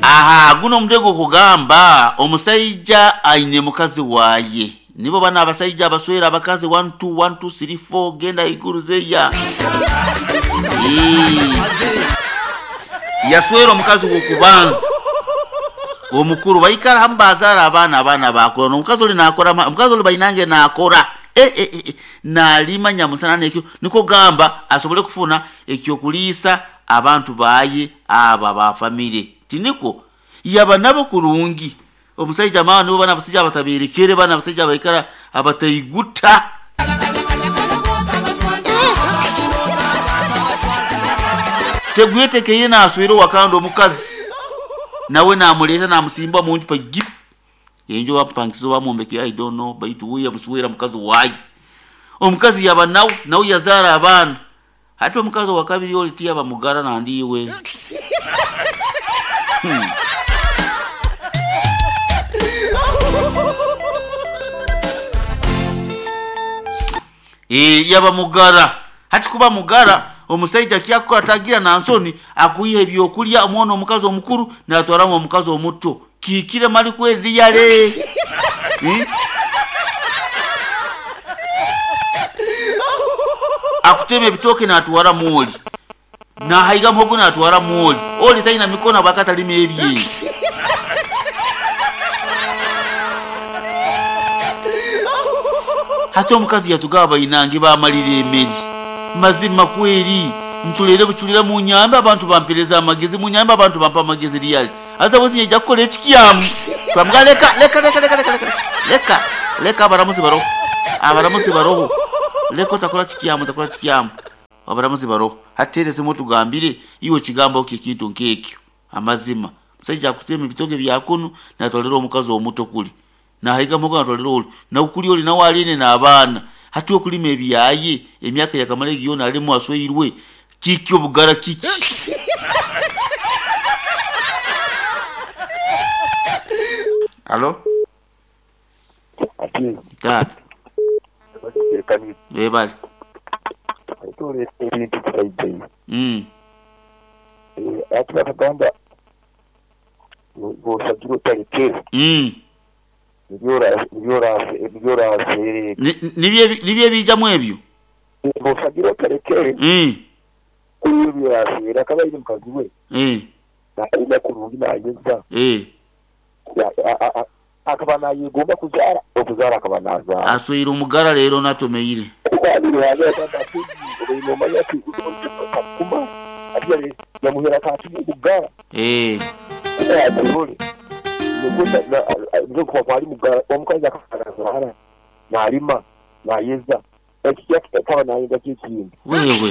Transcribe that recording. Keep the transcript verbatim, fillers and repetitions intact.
Aha, guno omutego kugamba omusajja aine mukazi waye. Nibo bana abasajja abaswera abakazi one two one two three four genda iguru zeya. Yaswera omukazi wokubanza. Omukuru baikara hamu bazaara abaana, abaana bakora. Omukazi oli nakora, omukazi oli bainange nakora. E, e, e, nalima nyamusana nekyo niko gamba asobole kufuna ekyokuliisa abantu baye aba ba family. Tiniko yaba nabo kurungi. Omusajja mawe nibo bana abasajja abataberekere, bana abasajja abaikara abataiguta. Tegwetekeire naswera wakando omukazi nawe namuleta namusimba munju pa gip enjo bapangizo bamumbeke I don't know baitu we yamuswera mukazi wayi. Omukazi yaba nawe nawe yazara abaana. Hati omukazi wa kabiri oli tiya bamugara nandiwe. Hmm. E, yaba mugara. Hati kuba mugara omusajja kyakora tagira na nsoni akuyiha ebyokulya omwana omukazi omukuru natwaramu omukazi omuto kikire mali kweri yale. Hmm? Akutema ebitoke natwara muoli na haiga mhogo natwara muoli oli taina mikono bakata lime ebye. Hata omukazi yatugaba inange bamalire emeri mazima kweri nchulere buchulira mu nyamba abantu bampereza amagezi mu nyamba abantu bampa amagezi real aza bozi nja kukola ekikyamu twamga leka leka leka leka leka leka leka leka abaramuzi baroho abaramuzi baroho leka takola kikyamu takola kikyamu abaramuzi baroho hatereze mutugambire iwe kigambo kikintu nkekyo amazima musajja akutema ebitoke byakunu natolera omukazi omuto kuli na haiga mugo natolera oli na ukuli oli na waline na abaana hati okulima ebyaye emyaka yakamala yona alimu asweirwe kiki obugara kiki. Alo tata ebali mm mm nibye bijamu ebyo bosagira tarekere mm kubyo akaba iri mukazi we eh na kurungi nayeza eh akaba nayigomba kuzara okuzara akaba nazara aswira umugara rero natomeyire eh nalima nayeza wewe.